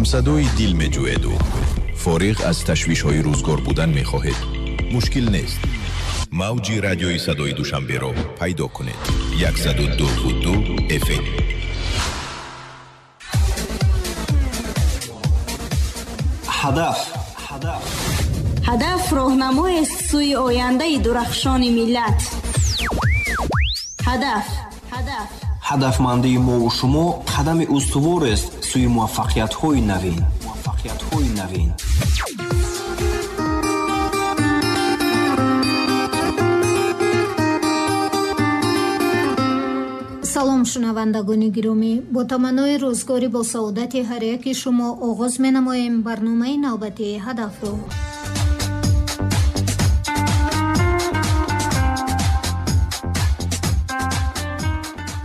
Ҳамсадои дил меҷӯеду фориғ аз ташвишҳои рӯзгор будан мехоҳед. Мушкил нест. Мавҷи радиои садои Душанберо пайдо кунед. 102.2 FM. Ҳадаф. Ҳадаф роҳнамоест сӯи ояндаи дурахшони миллат. Ҳадаф. Ҳадафмандии мову шумо қадами устуворест сӯи муваффақиятҳои навин. Салом, шунавандагони гиромӣ. Бо таманнои рӯзгори бо саодати ҳар яки шумо оғоз менамоем барномаи навбатии ҳадафро.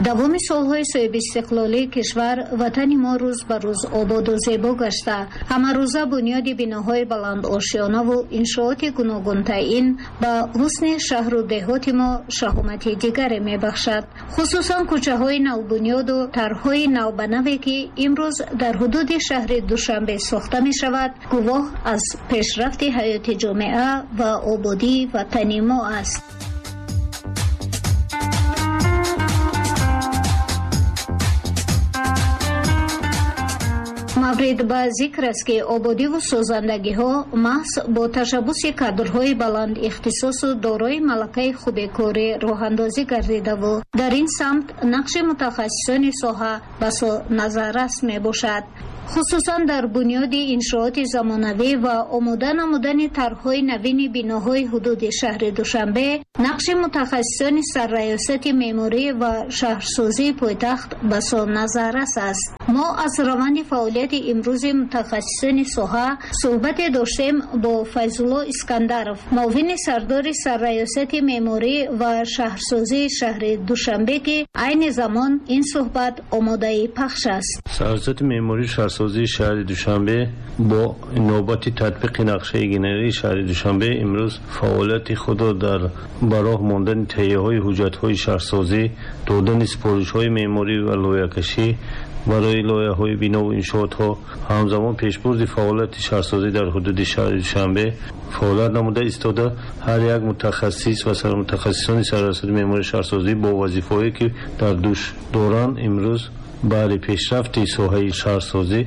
Давоми солҳои соҳибистиқлолии кишвар ватани мо рӯз ба рӯз ободу зебо гашта, ҳамарӯза бунёди биноҳои баландошёнаву иншооти гуногунтаин ба ҳусни шаҳру деҳоти мо шаҳомати дигаре мебахшад. Хусусан кӯчаҳои навбунёду тарҳҳои навбанаве, ки имрӯз дар ҳудуди шаҳри Душанбе сохта мешавад, гувоҳ аз пешрафти ҳаёти ҷомеа ва ободии ватани мо аст. Маврид ба зикр аст, ки ободиву созандагиҳо маҳз бо ташаббуси кадрҳои баланд ихтисосу дорои малакаи хубекорӣ роҳандозӣ гардидаву дар ин самт нақши мутахассисони соҳа басо назаррас мебошад. Хусусан дар бунёди иншооти замонавӣ ва омода намудани тарҳҳои навини биноҳои ҳудуди шаҳри Душанбе нақши мутахассисони сарраёсати меъморӣ ва шаҳрсозии пойтахт басо назаррас аст. Мо аз раванди фаъолияти имрӯзи мутахассисони соҳа суҳбате доштем бо Файзулло Искандаров, муовини сардори сарраёсати меъморӣ ва шаҳрсозии шаҳри Душанбе, ки айни замон ин суҳбат омодаи пахш аст. Сарраёсати меъмории шаҳрсозии шаҳри Душанбе бо навбати татбиқи нақшаи генералии шаҳри Душанбе имрӯз фаъолияти худро дар ба роҳ мондани таҳияҳои ҳуҷҷатҳои шаҳрсозӣ, додани супоришҳои меъморӣ ва лоиҳакашӣ барои лоиҳаҳои бинову иншоотҳо, ҳамзамон пешбурди фаъолияти шаҳрсозӣ дар ҳудуди шаҳри Душанбе фаъолият намуда истода, ҳар як мутахассис ва сармутахассисони сарраёсати меъмории шаҳрсозӣ бо вазифаҳое ки дар дӯш доранд, имрӯз баъди пешрафти соҳаи шаҳрсозӣ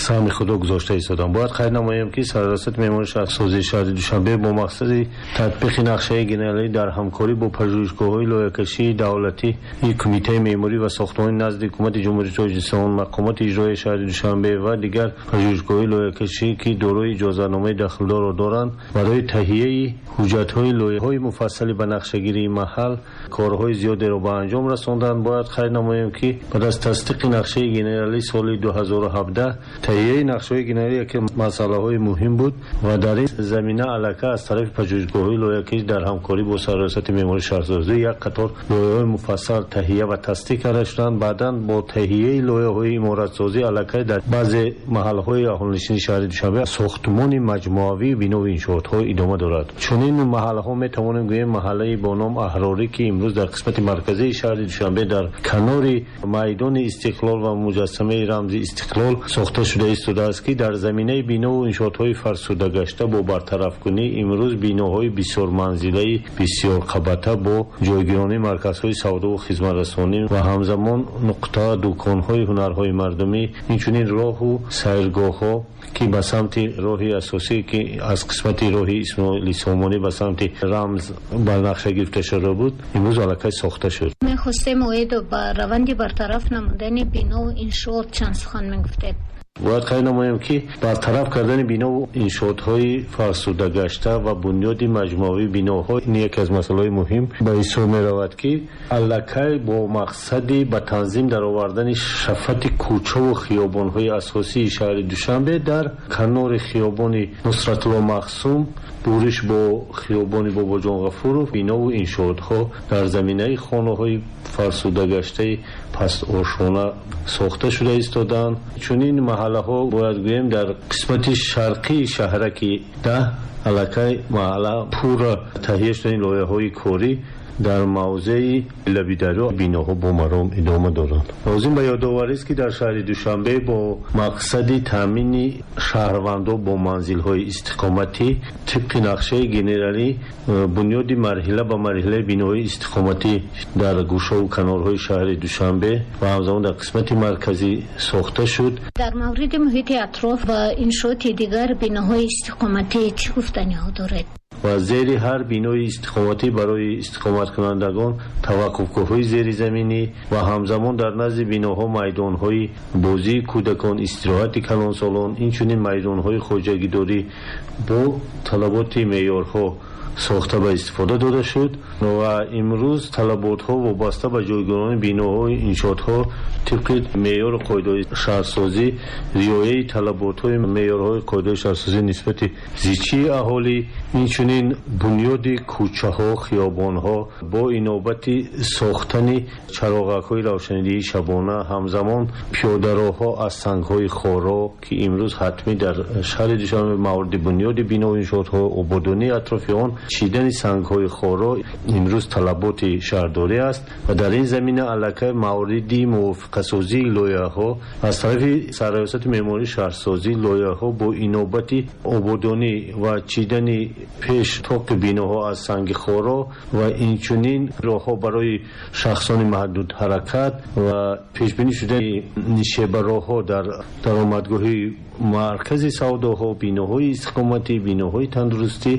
саҳми худро гузошта истоданд. Бояд қайд намоем, ки сарраёсати меъмории шаҳрсозии шаҳри Душанбе бо мақсади татбиқи нақшаи генералӣ дар ҳамкорӣ бо пажӯҳишгоҳҳои лоиҳакашии давлатии Кумитаи меъморӣ ва сохтмонӣ назди Ҳукумати Ҷумҳурии Тоҷикистон, мақомоти иҷроияи шаҳри Душанбе ва дигар пажӯҳишгоҳҳои лоиҳакашӣ, ки дорои иҷозатномаи дахлдорро доранд, барои таҳияи ҳуҷҷатҳои лоиҳаҳои муфассали ба нақшагирии маҳал корҳои зиёдеро ба анҷом расонданд. Бояд қайд намоем, ки баъд аз тасдиқи нақшаи генералии соли 2017 таҳияи нақшаҳои генералӣ яке масъалаҳои муҳим буд ва дар ин замина аллакай аз тарафи пажӯҳишгоҳҳои лоиҳакӣ дар ҳамкорӣ бо сарраёсати меъмории шаҳрсозӣ як қатор лоиҳаҳои муфассал таҳия ва тасдиқ карда шуданд. Баъдан бо таҳияи лоиҳаҳои иморатсозӣ аллакай дар баъзе маҳалҳои аҳолинишини шаҳри Душанбе сохтмони маҷмӯавии бинову иншоотҳо идома дорад. Чунин маҳалҳо метавонем гӯем маҳаллаи бо ном Аҳрорӣ, ки имрӯз дар қисмати марказии шаҳри Душанбе дар канори майдони Истиқлол ва муҷассамаи рамзи Истиқлол сохта шуда истодааст, ки дар заминаи бинову иншоотҳои фарсудагашта бо бартарафкунӣ имрӯз биноҳои бисёрманзилаи бисёрқабата бо ҷойгиронии марказҳои савдову хизматрасонӣ ва ҳамзамон нуқта дуконҳои ҳунарҳои мардумӣ, инчунин роҳу сайргоҳҳо, ки ба самти роҳи асосӣ, ки аз қисмати роҳи Исмоили Сомонӣ ба самти рамз ба нақша гирифта шуда буд, имрӯз аллакай сохта шуд. Мехостем оид ба раванди бартараф намудани бинову иншоот чанд сухан мегуфтед. Бояд қайд намоем, ки бартараф кардани бинову иншоотҳои фарсудагашта ва бунёди маҷмӯавии биноҳо ин яке аз масъалаҳои муҳим ба ҳисоб меравад, ки аллакай бо мақсади ба танзим даровардани шафати кӯчаву хиёбонҳои асосии шаҳри Душанбе дар канори хиёбони Нусратулло Махсум, буриш бо хиёбони Бобоҷон Ғафуров бинову иншоотҳо дар заминаи хонаҳои фарсудагаштаи пастошона сохта шуда истодаанд. Чунин маҳаллаҳо бояд гӯем дар қисмати шарқии шаҳраки 10 аллакай маҳалла пурра таҳия шудани лоиҳаҳои корӣ Дар мавзеи лаби дарё биноҳо бо маром идома доранд. Лозим ба ёдоварист, ки дар шаҳри Душанбе бо мақсади таъмини шаҳрвандон бо манзилҳои истиқоматӣ тибқи нақшаи генералӣ бунёди марҳила ба марҳилаи биноҳои истиқоматӣ дар гӯшаву канорҳои шаҳри Душанбе ва ҳамзамон дар қисмати марказӣ сохта шуд. Дар мавриди муҳити атроф ва иншооти дигар биноҳои истиқоматӣ чӣ гуфтаниҳо доред? Ва зери ҳар бинои истиқоматӣ барои истиқоматкунандагон таваққуфгоҳҳои зеризаминӣ ва ҳамзамон дар назди биноҳо майдонҳои бозии кӯдакон, истироҳати калонсолон, инчунин майдонҳои хоҷагидорӣ бо талаботи меъёрҳо сохта ба истифода дода шуд ва имрӯз талаботҳо вобаста ба ҷойгирони биноҳои иншоотҳо тибқи меъёру қоидаҳои шаҳрсозӣ, риояи талаботҳои меъёрҳои қоидаҳои шаҳрсозӣ нисбати зичии аҳолӣ, инчунин бунёди кӯчаҳо, хиёбонҳо бо инобати сохтани чароғакҳои равшанидиҳии шабона, ҳамзамон пиёдароҳҳо аз сангҳои хоро, ки имрӯз ҳатмӣ дар шаҳри Душанбе мавриди бунёди биноҳои иншоотҳо, ободонии атрофи он, чидани сангҳои хоро имрӯз талаботи шаҳрдорӣ аст ва дар ин замина аллакай мавриди мувофиқасозии лоиҳаҳо аз тарафи Сарраёсати меъмории шаҳрсозӣ лоиҳаҳо бо инобати ободонӣ ва чидани пеш тоқи биноҳо аз санги хоро ва инчунин роҳҳо барои шахсони маҳдудҳаракат ва пешбинӣ шудани нишебароҳҳо дар даромадгоҳи маркази савдоҳо, биноҳои истиқоматӣ, биноҳои тандурустӣ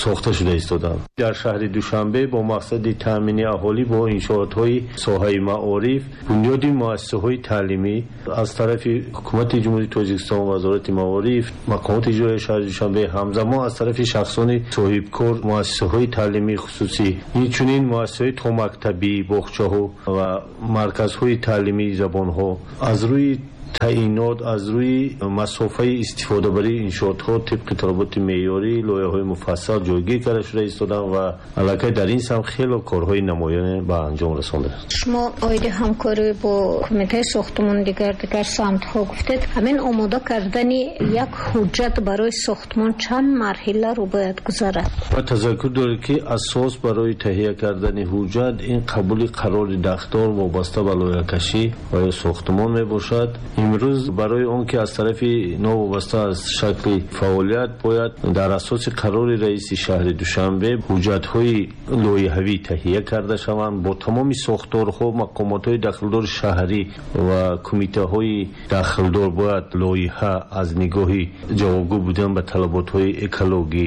сохта шуда истоданд. Дар шаҳри Душанбе бо мақсади таъмини аҳолӣ бо иншоотҳои соҳаи маориф, бунёди муассисаҳои таълимӣ аз тарафи ҳукумати Ҷумҳурии Тоҷикистон, Вазорати маориф, мақомоти иҷроияи шаҳри Душанбе, ҳамзамон аз тарафи шахсони соҳибкор муассисаҳои таълимии хусусӣ, инчунин муассисаҳои томактабӣ, боғчаҳо ва марказҳои таълимии забонҳо аз рӯи таъинот, аз рӯи масофаи истифодабарии иншоотҳо тибқи талаботи меъёрӣ лоиҳаҳои муфассал ҷойгир карда шуда истоданд ва аллакай дар ин самт хело корҳои намоёне ба анҷом расондааст. Шумо оиди ҳамкорӣ бо кумитаи сохтмон дигар самтҳо гуфтед. Ҳамин омода кардани як ҳуҷҷат барои сохтмон чанд марҳиларо бояд гузарад? Ва тазаккур доред, ки асос барои таҳия кардани ҳуҷҷат ин қабули қарори дахлдор вобаста ба лоиҳакашӣ ва ё сохтмон мебошад. Имрӯз барои он ки аз тарафи новобаста аз шакли фаъолият бояд дар асоси қарори раиси шаҳри Душанбе ҳуҷҷатҳои лоиҳавӣ таҳия карда шаванд бо тамоми сохторҳо, мақомотҳои дахлдори шаҳрӣ ва кумитаҳои дахлдор бояд лоиҳа аз нигоҳи ҷавобгӯ будан ба талаботҳои экологӣ,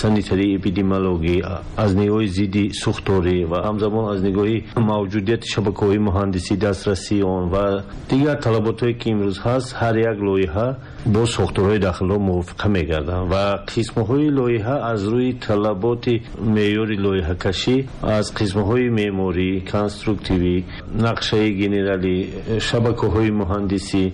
санитарӣ, эпидемиологӣ, аз нигоҳи зидди сӯхторӣ ва ҳамзамон аз нигоҳи мавҷудияти шабакаҳои муҳандисӣ, дастрасии он ва дигар талаботҳое ки имрӯз ҳаст, ҳар як лоиҳа бо сохторҳои дахлдор мувофиқа мегарданд ва қисмҳои лоиҳа аз рӯи талаботи меъёри лоиҳакашӣ аз қисмҳои меъморӣ, конструктивӣ, нақшаи генералӣ, шабакаҳои муҳандисӣ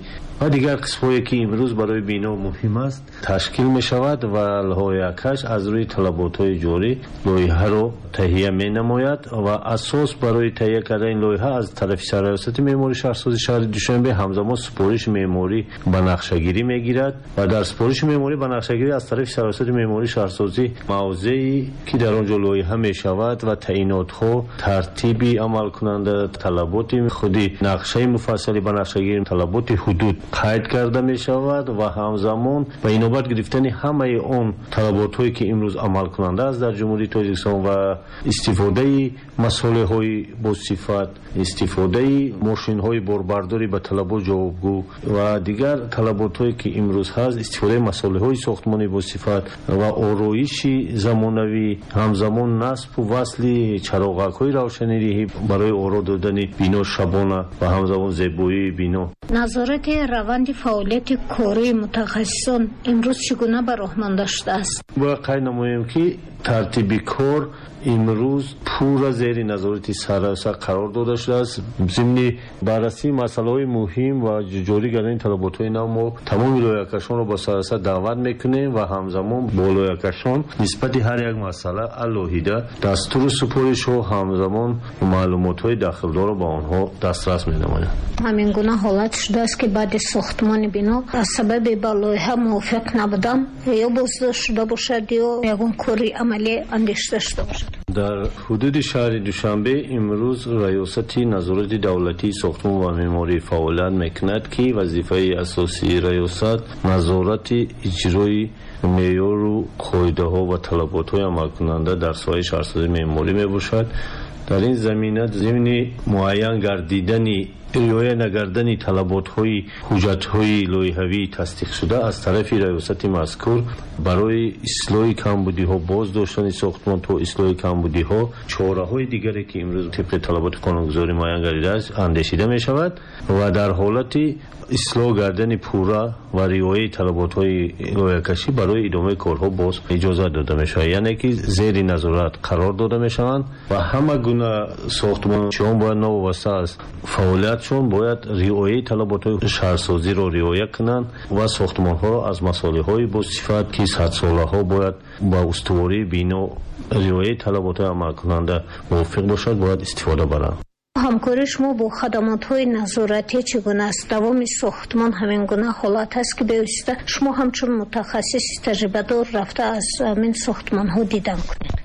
ва дигар қисмҳое ки имрӯз барои бино муҳим аст ташкил мешавад ва лоиҳакаш аз рӯи талаботҳои ҷорӣ лоиҳаро таҳия менамояд ва асос барои таҳия кардани лоиҳа аз тарафи Сарраёсати меъмории шаҳрсозии шаҳри Душанбе ҳамзамон супориши меъморӣ ба нақшагирӣ мегирад ва дар супориши меъморӣ ба нақшагирӣ аз тарафи Сарраёсати меъмории шаҳрсозӣ мавзее ки дар он ҷо лоиҳа мешавад ва таъинотҳо, тартиби амалкунанда, талаботи худи нақшаи муфассали ба нақшагирӣ, талаботи ҳудуд қайд карда мешавад ва ҳамзамон ба инобат гирифтани ҳамаи он талаботҳое ки имрӯз амалкунанда аст дар Ҷумҳурии Тоҷикистон ва истифодаи масолеҳои босифат, истифодаи мошинҳои борбардорӣ ба талабот ҷавобгӯ ва дигар талаботҳое ки имрӯз ҳаст, истифодаи масолеҳои сохтмонӣ босифат ва ороиши замонавӣ, ҳамзамон насбу васли чароғакҳои равшанидиҳӣ барои оро додани бино шабона ва ҳамзамон зебоии бино. Назорати раванди фаъолияти кории мутахассисон имрӯз чӣ гуна ба роҳ монда шудааст? Бояд қайд намоем, ки тартиби кор имрӯз пурра зери назорати сарраёсат қарор дода шудааст. Зимни баррасии масъалаҳои муҳим ва ҷорӣ кардани талаботҳои нав мо тамоми лоиҳакашонро ба сарраёсат даъват мекунем ва ҳамзамон бо лоиҳакашон нисбати ҳар як масъала алоҳида дастуру супоришҳо, ҳамзамон маълумотҳои дахлдорро ба онҳо дастрас менамоем. Ҳамин гуна ҳолат шудааст, ки баъди сохтмони бино аз сабаби ба лоиҳа мувофиқ набудан ё боздошт шуда бошад, ё ягон кори амалӣ андешида шуда бошад? Дар ҳудуди шаҳри Душанбе имрӯз Раёсати назорати давлатии сохтмон ва меъморӣ фаъолият мекунад, ки вазифаи асосии раёсат назорати иҷрои меъёру қоидаҳо ва талаботҳои амалкунанда дар соҳаи шаҳрсозии меъморӣ мебошад. Дар ин замина зимни муайян гардидани риоя нагардани талаботҳои ҳуҷҷатҳои лоиҳавии тасдиқшуда аз тарафи раёсати мазкур барои ислоҳи камбудиҳо, боз доштани сохтмон то ислоҳи камбудиҳо, чораҳои дигаре ки имрӯз тибқи талаботи қонунгузорӣ муайян гардидааст, андешида мешавад ва дар ҳолати ислоҳ гардани пурра ва риояи талаботҳои лоиҳакашӣ барои идомаи корҳо боз иҷозат дода мешавад, яъне ки зери назорат қарор дода мешаванд ва ҳама гуна сохтмончиён бояд новобаста аз фаъолиятшон бояд риояи талаботҳои шаҳрсозиро риоя кунанд ва сохтмонҳоро аз масолеҳҳои босифат, ки садсолаҳо бояд ба устувории бино риояи талаботҳои амалкунанда мувофиқ бошад, бояд истифода баранд. Ҳамкории шумо бо хадамотҳои назоратӣ чӣ гуна аст? Давоми сохтмон ҳамин гуна ҳолат ҳаст, ки бевосита шумо ҳамчун мутахассиси таҷрибадор рафта аз ҳамин сохтмонҳо дидан кунед?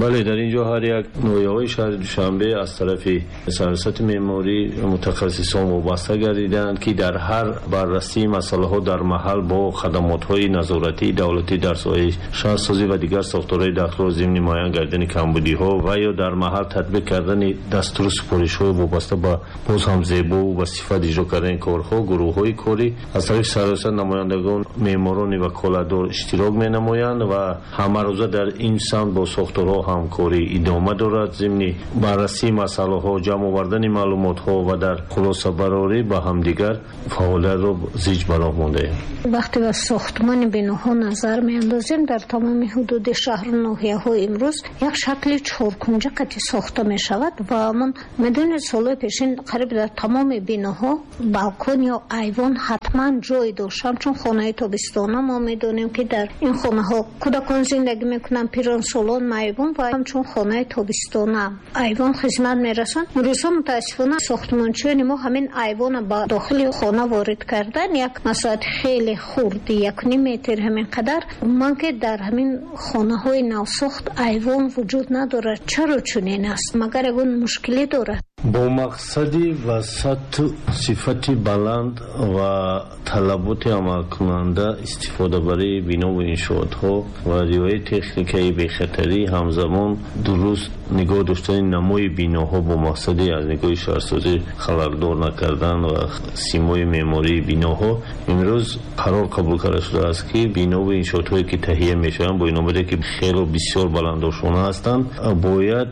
Бале, дар ин ҷо ҳар як ноҳияҳои шаҳри Душанбе аз тарафи сарраёсати меъморӣ мутахассисон вобаста гардидаанд, ки дар ҳар баррасии масъалаҳо дар маҳал бо хадамотҳои назоратии давлатӣ дар соҳаи шаҳрсозӣ ва дигар сохторҳои дахлдор зимни муайян гардидани камбудиҳо ва ё дар маҳал татбиқ кардани дастуру супоришҳои вобаста ба боз ҳам зебову ба сифат иҷро кардани корҳо, гурӯҳҳои корӣ аз тарафи сарраёсат намояндагон, меъморони ваколатдор иштирок менамоянд ва ҳамарӯза дар ин самт бо сохторҳо ҳамкорӣ идома дорад. Зимни баррасии масъалаҳо, ҷамъ овардани маълумотҳо ва дар хулосабарорӣ ба ҳамдигар фаъолиятро зич ба роҳ мондаем. Вақте ба сохтмони биноҳо назар меандозем, дар тамоми ҳудуди шаҳру ноҳияҳо имрӯз як шакли чоркунҷа қати сохта мешавад ва ман медонед, солҳои пешин қариб дар тамоми биноҳо балкон ё айвон ҳатман ҷой дошт. Ҳамчун хонаи тобистона мо медонем, ки дар ин хонаҳо кӯдакон зиндагӣ мекунанд, пиронсолон, маъюбон ва ҳамчун хонаи тобистона айвон хизмат мерасонд. Имрӯзҳо мутаассифона сохтмончиёни мо ҳамин айвона ба дохили хона ворид кардан, як масоҳати хеле хурди 1.5 метр ҳамин қадар. Ман ки дар ҳамин хонаҳои навсохт айвон вуҷуд надорад. Чаро чунин аст? Магар ягон мушкилӣ дорад? Бо мақсади васату сифати баланд ва талаботи амалкунанда истифодабарии бинову иншоотҳо ва риояи техникаи бехатарӣ, ҳамзамон дуруст нигоҳ доштани намои биноҳо бо мақсади аз нигоҳи шаҳрсозӣ халалдор накардан ва симои меъмории биноҳо, имрӯз қарор қабул карда шудааст, ки бинову иншоотҳое ки таҳия мешаванд, бо инобате ки хело бисёр баландошона ҳастанд, бояд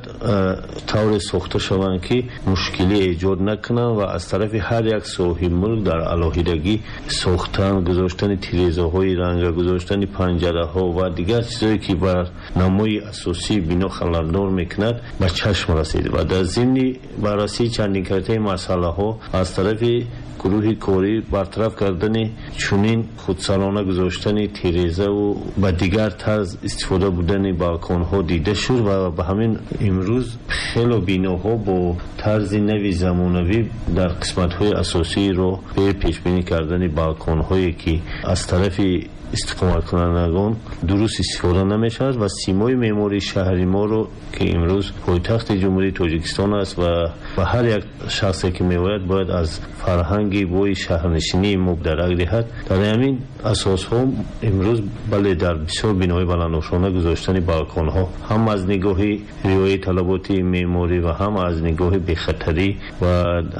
тавре сохта шаванд, ки мушкилӣ эҷод накунанд ва аз тарафи ҳар як соҳиби мулк дар алоҳидагӣ сохтан, гузоштани тирезаҳои ранга, гузоштани панҷараҳо ва дигар чизҳое ки бар намои асосии бино халалдор мекунад, ба чашм расид ва дар зимни баррасии чандинкартаи масъалаҳо аз тарафи гурӯҳи корӣ бартараф кардани чунин худсарона гузоштани тирезаву ба дигар тарз истифода будани балконҳо дида шуд ва ба ҳамин имрӯз хело биноҳо бо тарзи нави замонавӣ дар қисматҳои асосии роҳ бе пешбинӣ кардани балконҳое ки аз тарафи истиқоматкунандагон дуруст истифода намешавад ва симои меъмории шаҳри моро, ки имрӯз пойтахти Ҷумҳурии Тоҷикистон аст ва ба ҳар як шахсе ки меояд бояд аз фарҳанги бои шаҳрнишинии мо дарак диҳад. Дар ҳамин асосҳо имрӯз бале дар бисёр биноҳои баландошона гузоштани балконҳо ҳам аз нигоҳи риояи талаботи меъморӣ ва ҳам аз нигоҳи бехатарӣ ва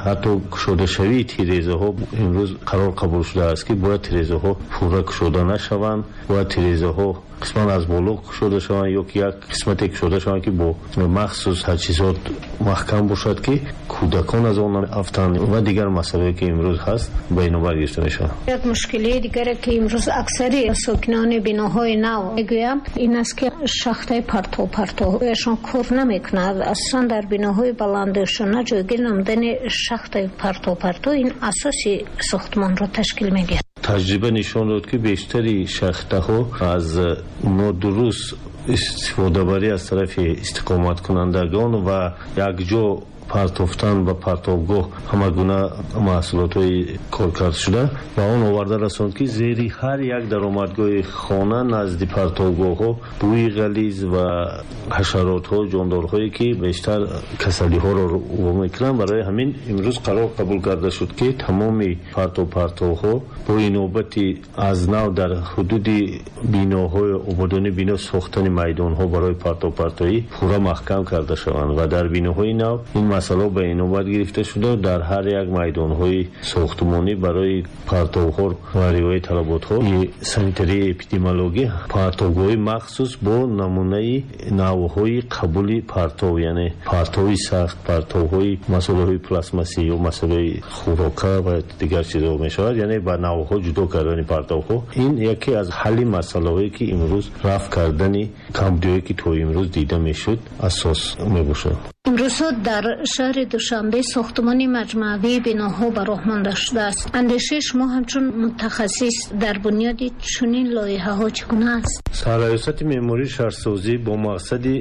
ҳатто кушодашавии тирезаҳо имрӯз қарор қабул шудааст, ки бояд тирезаҳо пурра кушода нашаванд, бояд тирезаҳо қисман аз боло кушода шаванд ё ки як қисмате кушода шаванд, ки бо махсус таҷҳизот маҳкам бошад, ки кӯдакон аз он афтанд ва дигар масъалае ки имрӯз ҳаст ба инобат гирифта мешавад. Як мушкилии дигаре, ки имрӯз аксари сокинони биноҳои нав мегӯянд, ин аст, ки шахтаи партовпартоҳояшон кор намекунад. Асосан дар биноҳои баландошона ҷойгир намудани шахтаи партовпарто ин асоси сохтмонро ташкил медиҳад. Таҷриба нишон дод, ки бештари шахтаҳо аз нодуруст истифодабарӣ аз тарафи истиқоматкунандагон ва якҷо партофтан ба партовгоҳ ҳама гуна маҳсулотҳои коркардшуда ба он оварда расонд, ки зери ҳар як даромадгоҳи хона назди партовгоҳҳо бӯи ғализ ва ҳашаротҳо, ҷондорҳое ки бештар касалиҳоро во мекунанд. Барои ҳамин имрӯз қарор қабул карда шуд, ки тамоми партовҳо бо инобати аз нав дар ҳудуди биноҳои ободонии бино сохтани майдонҳо барои партовпартоӣ пурра маҳкам карда шаванд ва дар биноҳои нав ин масъала ба инобат гирифта шуда, дар ҳар як майдонҳои сохтмонӣ барои партовҳо ва риояи талаботҳои санитарии эпидемиологӣ партовгоҳи махсус бо намунаи навъҳои қабули партов, яъне партови сахт, партовҳои масолаҳои пластмассӣ ё масолаҳои хӯрока ва дигар чизҳо мешавад, яъне ба навъҳо ҷудо кардани партовҳо. Ин яке аз ҳалли масъалаҳое ки имрӯз рафъ кардани камбудиҳое ки то имрӯз дида мешуд асос мебошад. Имрӯзҳо дар шаҳри Душанбе сохтмони маҷмӯавии биноҳо ба роҳ монда шудааст. Андешаи шумо ҳамчун мутахассис дар бунёди чунин лоиҳаҳо чӣ гуна аст? Сарраёсати меъмории шаҳрсозӣ бо мақсади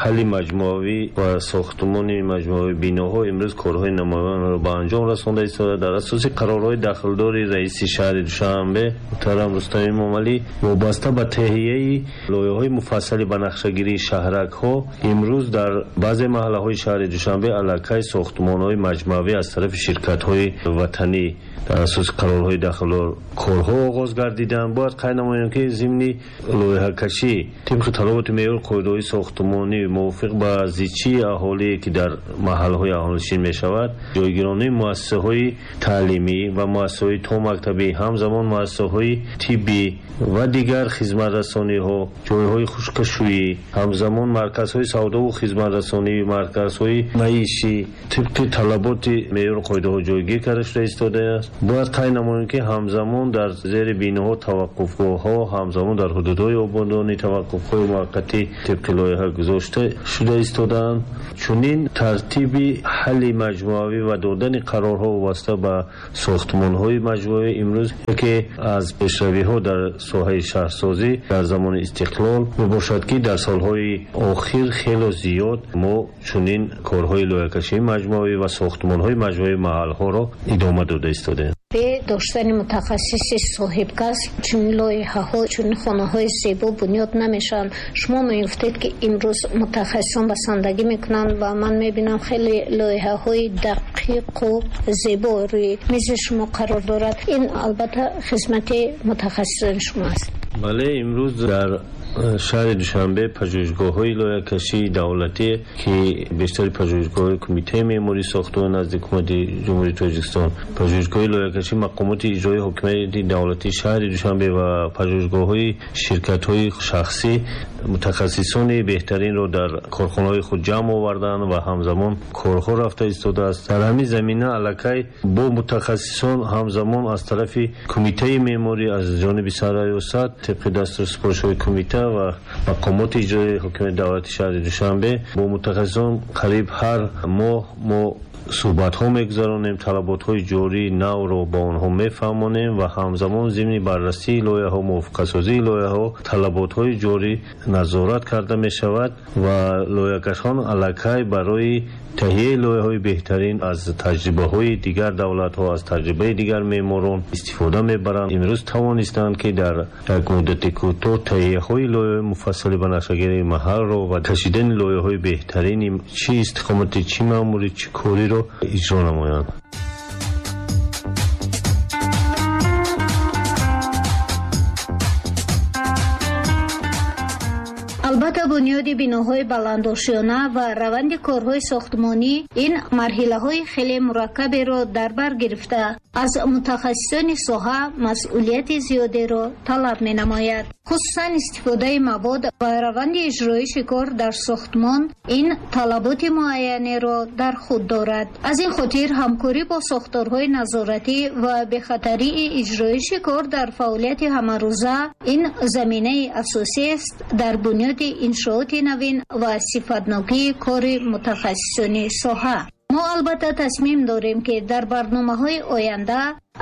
ҳалли маҷмӯавӣ ва сохтмони маҷмӯавии биноҳо имрӯз корҳои намоянро ба анҷом расонда истода. Дар асоси қарорҳои дахлдори раиси шаҳри Душанбе муҳтарам Рустам Эмомалӣ вобаста ба таҳияи лоиҳаҳои муфассали ба нақшагирии шаҳракҳо имрӯз дар баъзе маҳаллаҳои шаҳри Душанбе аллакай сохтмонҳои маҷмӯавӣ аз тарафи ширкатҳои ватанӣ дар асоси қарорҳои дахлдор корҳо оғоз гардиданд. Бояд қайд намоем, ки зимни лоиҳакашӣ тибқи талаботи меъёр қоидаҳои сохтмонӣ мувофиқ ба зичии аҳолие ки дар маҳаллаҳои аҳолинишин мешавад, ҷойгиронии муассисаҳои таълимӣ ва муассисаҳои томактабӣ, ҳамзамон муассисаҳои тиббӣ ва дигар хизматрасониҳо, ҷойҳои хушкашӯӣ, ҳамзамон марказҳои савдову хизматрасонӣ, марказҳои маишӣ тибқи талаботи меъёр қоидаҳо ҷойгир карда шуда истодааст. Бояд қайд намоем, ки ҳамзамон дар зери биноҳо таваққуфгоҳҳо, ҳамзамон дар ҳудудҳои ободонӣ таваққуфҳои муваққатӣ тибқи лоиҳа гузошта шуда истодаанд. Чунин тартиби ҳалли маҷмӯавӣ ва додани қарорҳо вобаста ба сохтмонҳои маҷмӯавӣ имрӯз яке аз пешравиҳо дар соҳаи шаҳрсозӣ дар замони истиқлол мебошад, ки дар солҳои охир хело зиёд мо чунин корҳои лоиҳакашии маҷмӯавӣ ва сохтмонҳои маҷмӯавии маҳалҳоро идома дода истодаем. Бе доштани мутахассиси соҳибкасб чунин лоиҳаҳо, чунин хонаҳои зебо бунёд намешаванд. Шумо мегуфтед, ки имрӯз мутахассисон басандагӣ мекунанд ва ман мебинам хеле лоиҳаҳои дақиқу зебо рӯи мизи шумо қарор дорад. Ин албатта хизмати мутахассисони шумо аст. Бале, имрӯз дар шаҳри Душанбе пажӯҳишгоҳҳои лоиҳакашии давлатӣ, ки бештари пажӯҳишгоҳҳои кумитаи меъмории сохтмон назди ҳукумати Ҷумҳурии Тоҷикистон, пажӯҳишгоҳи лоиҳакашии мақомоти иҷроии ҳокимияти давлатии шаҳри Душанбе ва пажӯҳишгоҳҳои ширкатҳои шахсӣ мутахассисони беҳтаринро дар корхонаҳои худ ҷамъ оварданд ва ҳамзамон корҳо рафта истодааст. Дар ҳамин замина аллакай бо мутахассисон ҳамзамон аз тарафи кумитаи меъморӣ аз ҷониби сарраёсат тибқи дастуру супоришҳои кумита ва мақомоти иҷроии ҳокимияти давлати шаҳри Душанбе бо мутахассисон қариб ҳар моҳ мо суҳбатҳо мегузаронем, талаботҳои ҷории навро ба онҳо мефаҳмонем ва ҳамзамон зимни баррасии лоиҳаҳо, мувофиқасозии лоиҳаҳо талаботҳои ҷорӣ назорат карда мешавад ва лоиҳакашон аллакай барои таҳияи лоиҳаҳои беҳтарин аз таҷрибаҳои дигар давлатҳо, аз таҷрибаи дигар меъморон истифода мебаранд. Имрӯз тавонистанд, ки дар як муддати кӯтоҳ таҳияҳои лоиҳаҳои муфассали ба нақшагирии маҳалро ва кашидани лоиҳаҳои беҳтарини чӣ истиқоматӣ, чӣ маъмурӣ, чӣ кориро иҷро намоянд. Албатта бунёди биноҳои баландошёна ва раванди корҳои сохтмонӣ ин марҳилаҳои хеле мураккаберо дар бар гирифта, аз мутахассисони соҳа масъулияти зиёдеро талаб менамояд. Хусусан истифодаи мавод ва раванди иҷроиши кор дар сохтмон ин талаботи муайянеро дар худ дорад. Аз ин хотир ҳамкорӣ бо сохторҳои назоратӣ ва бехатарии иҷроиши кор дар фаъолияти ҳамарӯза ин заминаи асосиест дар бунёди иншооти навин ва сифатнокии кори мутахассисони соҳа. Мо албатта тасмим дорем, ки дар барномаҳои оянда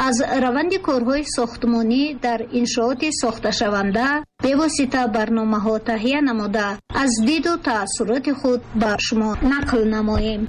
аз раванди корҳои сохтмонӣ дар иншооти сохташаванда бевосита барномаҳо таҳия намуда, аз диду таассуроти худ ба шумо нақл намоем.